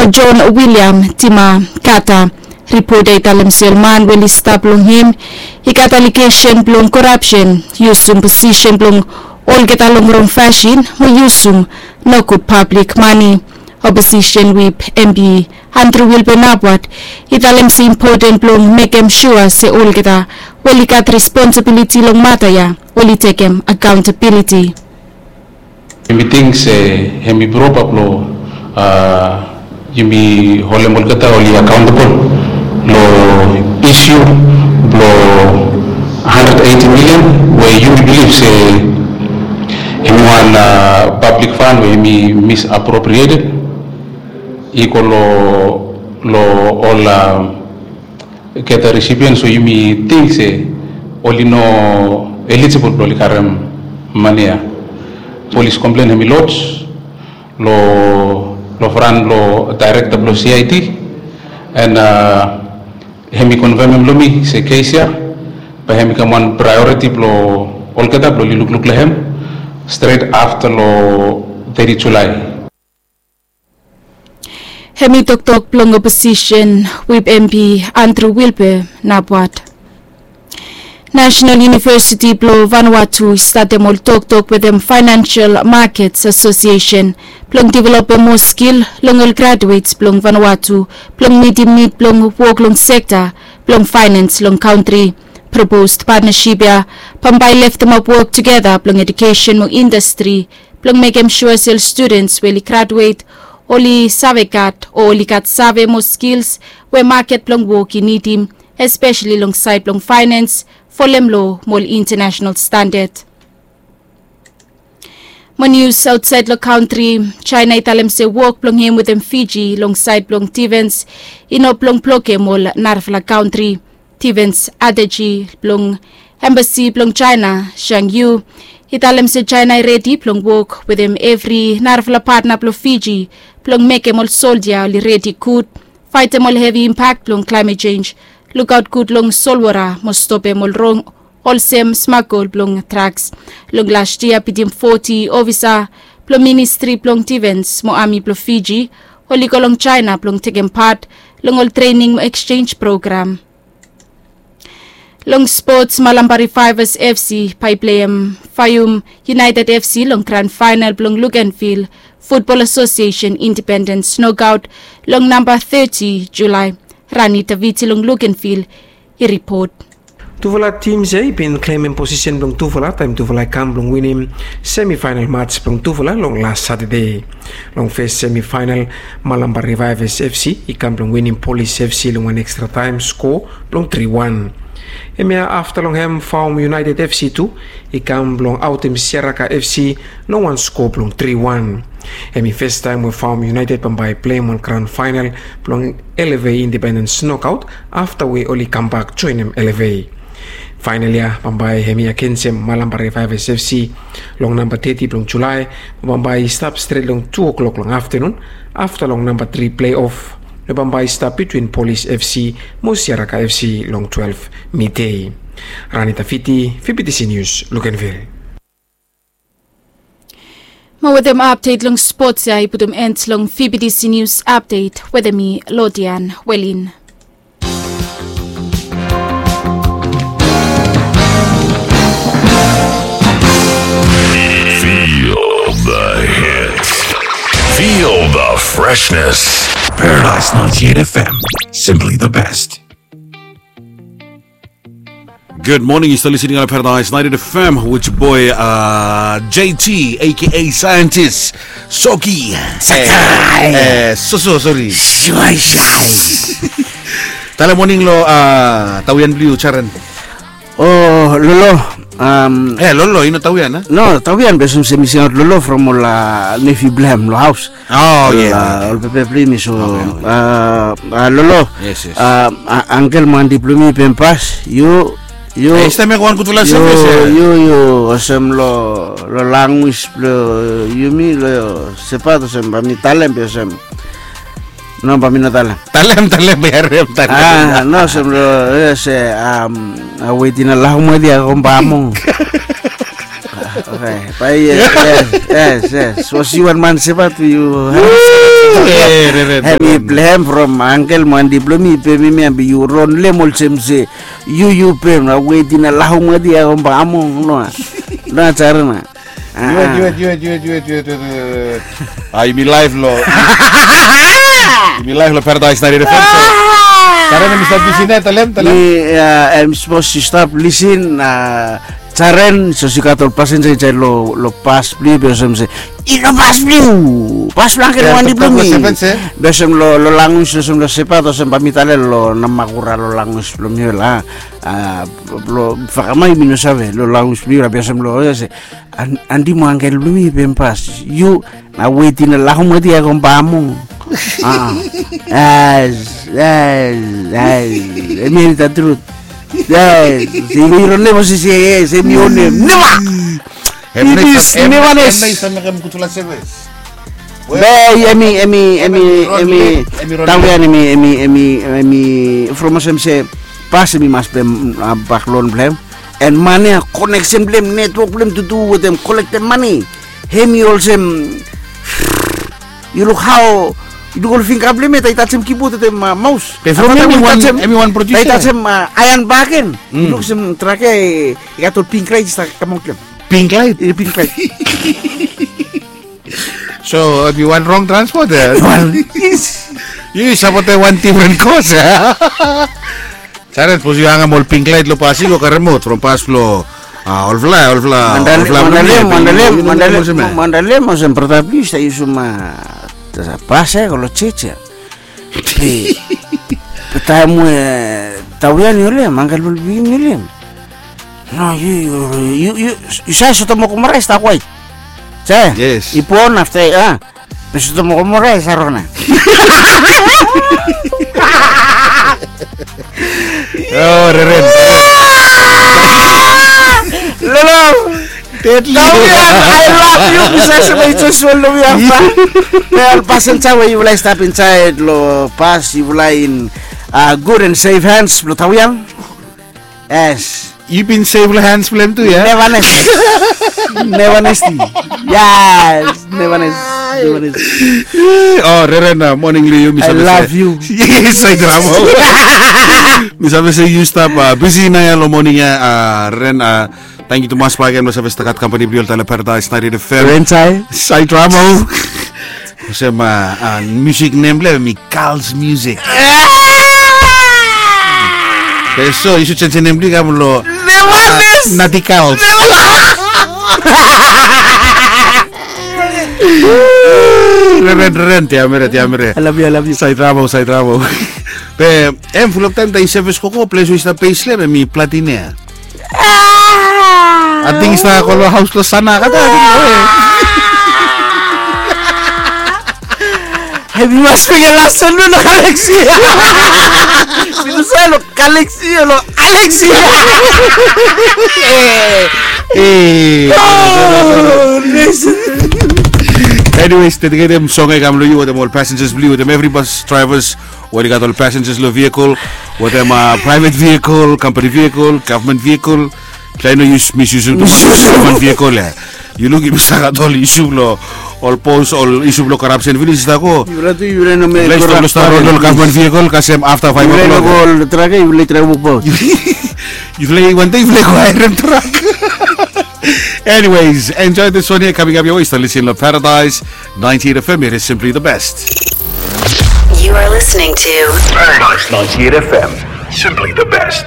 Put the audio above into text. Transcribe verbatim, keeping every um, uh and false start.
John William Timakata. Ripot ya i talem se ol man we oli stap long hem i gat alegesen blong korapsen, yusum posisen blong olgeta long rong fasin mo yusum nogud pablik mane. Oposisen wip M P Andrew Wilbur Nabwat i talem se impoten blong mekem sua se olgeta we oli gat responsibiliti long mata ya oli tekem akaontabiliti. Yumi ting se hemi propa blong yumi holem olgeta oli akaontabol long isu blong hundred eighty million we yumi bilif se hemi wan pablik fan we hemi misappropriated i go long ol olgeta recipient, so yumi ting se oli no eligible blong oli karem mane ya. Polis komplen hemi lodge long fran blong daerekta blong C I D, and hemi konfemem long mi se kes ya bae hemi kam wan praeoriti blong olgeta blong oli lukluk long hem stret afta long teti Julae. Hemi toktok blong oposisen wip M P Andrew Wilbur Nabwat. National University blong Vanuatu i statem ol toktok wetem Financial Markets Association blong developem moa skil long ol graduates blong Vanuatu blong mitim nid blong wok long sekta blong finance long kantri. Proposed partnership ya bambae i leftemap wok tugeta blong edukesen mo indastri blong mekem sua se ol studens we oli graduate oli save gat o oli gat save mo skils we maket blong wok i nidim, espeseli long saed blong faenens, folem lo mo ol intanasenal standad. Mo nius aotsaed long kantri, Jaena i talem se wok blong hem wetem Fiji long saed blong difens i no blong blokem ol narafala kantri. Difens ateji blong embasi blong Jaena, Zhang Yu, i talem se Jaena i redi blong wok wetem evri narafala patna blong Fiji blong mekem ol soldia oli redi gud faetem ol hevi impak blong klaemet jenj, lukaot gud long solwota mo stopem ol rong olsem smagol blong draks. Long las yia bitim foti ofisa blong ministri blong difens mo ami blong Fiji oli go long Jaena blong tekem pat long ol trening mo eksjenj program. Long spots, Malampa Revivers F C bae i pleim Faium United F C long gran faenal blong Luganville Football Association Independence Knockout long namba teti Julae. Rani Taviti long Luganville i ripot. Tufala tims ya i bin klemem posisen blong tufala taem tufala i kam blong winim semifaenal mats blong tufala long las Satade. Long fes semifaenal, Malampa Revivers F C i kam blong winim Polis F C long wan ekstra taem sko blong tri wan. Hemia afta long hem Faum United F C tu i kam blong aotem Siaraka F C long wan sko blong tri wan. Hem i festaem we Faum United bambae i pleim wan gran faenal blong L F A Independence Knockout afta we oli kambak joenem L F A. Faenal ya bambae hem i agensem Malampa Revivers F C long namba teti blong Julae, bambae i stap stret long tu o'klok long aftenun, afta long namba tri pleiof we bambae i stap bitwin Polis F C mo Siaraka F C long twelef midei. Rani Taviti, V B T C Nius, Luganville. Mo wetem apdet long spots ya i putum en long V B T C Nius apdet wetem mi, Lodian Welin. Feel the hits. Feel the freshness. Paradise ninety-eight F M, simply the best. Good morning, you're still listening on Paradise ninety-eight F M with your boy, uh, J T, A K A Scientist, Soki. Sakai. Eh, eh, so, so, sorry. Shuai, shuai. Tale morning lo, uh, tawian blong yu, Jaren. Oh, Lolo. Um, eh, Lolo, i no tawian, eh? No, tawian, be olsem se mi singaot Lolo from ol, uh, nefi blong hem lo haos. Oh, yeah, okay. Ol pepe blong yumi, so, okay, okay. Uh, uh, Lolo. Yes, yes. Uh, a-, angkel mo anti blong yumi i bin pas, yu, yu. Eh, i stap mekem wan gudfala service, eh. Yu, yu, olsem lo, lo language blong yumi, lo Sepat, olsem bae mi talem, be olsem. No, bae mi no talem. Talem, talem, bae harem, talem. Ah, no, olsem lo, eh, se, um, a wetin a lau mo dia kom bamong. Okay, bae, yes, yes, yes, yes. So si wan man Sepat, yu, ha? Hemi blem from angkel mo andi blong mi i pem mi abi yu ron lem olsem se yu yu pem na weti na lahum adi ago bamong noa. Noa cara na. Juet, juet, juet, juet, juet, juet, juet, juet. Ah, yumi laef lo yumi laef lo Paradise naerere fenso. Cara na mi stap bisi ne talem talem. Mi em sipos yu stap lisin. Jaren so si gat ol pasenja insaed lo pas blong yu be olsem se i no pas blong yu, pas blong angkel wandi blong mi. Be olsem lo langus olsem lo sepat olsem ba mi tale lo namakura lo langus blong mi ol a. Blong fakama yumi no save lo langus blong yu la be olsem lo se andi mo angkel blong mi be mi pas yu. Na weti na lahum adi ago bamong. Emi eri ta trut. Iro nem o sisi ese emi o nem nema. Ibis nevanes. Be emi emi emi emi tawian emi emi emi emi from osem se pas emi mas be bak lon blem. En mane a koneksen blem netwok blem tutu wetem kolektem mane. Hemi olsem yu luk hao yu luk ol fingga blem ya ta i tajem kibot wetem maus. Be from hemi wan produsa ya i tajem aean baken. Yu luk olsem trak ya i gat ol pink lait i stap kamaot blem. Pink lait. Pink lait. So hemi wan rong transpot ya. Yu sapotem wan difren kos ya. Saren sapos yu angem ol pink lait long pas i go karem aot from pas blong olfala olfala olfala mandalem mandalem mandalem olsem brata plis ta yusum pas ya go long jej ya. Be taem we tawian i olem angkel blong pikinini i olem. No yu yu yu yu save soto mokomora i stap waet. Save? Yes. I pon afta a be soto mokomora i sarona. Oh, reren. Lolo. Tawian, I love you. Mi save se bai just hold long yu afta. Be ol pasenja we yufala i stap insaed long pas yufala in gud and safe hands blong tawian. Yes. Yu bin save long hands blong hem tu ya. Neva nesti. Neva nesti. Yes. Neva nesti. Neva nesti. Oh, reren moning long yu mi save se. I love you. Yes, I drama. Mi save se yu stap bisi nao ya long moning ya. Reren. Tangkiu tumas bakegen blong save stap gat kampani blong yu oltaem long Paradise naerere fem. Reren sai. Sai drama. Olsem musik nem blong hem i Kals Musik. Be so yu sud jenjem nem blong yu kam long Nati Kals. Reren reren tiamere tiamere. Sait ramo sait ramo. Be hem fulap taem taem i sevis koko ples we i stap pes long hem hem i platin ya. Ating i stap go long haos long sana kata ating. Hem i mas mekem las long kaliksi. Mi no save long kaliksi long aliksi. Anyways, dediketem song ya i kam long yu wetem ol passengers blong yu wetem evri bus drivers. Weri gat ol passengers long vehicle wetem private vehicle, company vehicle, government vehicle. Trai no yus misyusum tumas ol government vehicle ya. Yu luk yumi save gat ol isu blong ol pos ol isu blong corruption finis i stap go. Yufala tu yufala i no mekem corrupt. Yufala i stap ron long ol government vehicle kasem afta five o'clock. Yufala i no go ol trak ya yufala i trai wokbaot. Yufala i wantem yufala i go haerem trak. Anyways, enjoy this one here coming up your way. Stap lisin long Paradise ninety-eight F M. It is simply the best. You are listening to Paradise ninety-eight F M. Simply the best.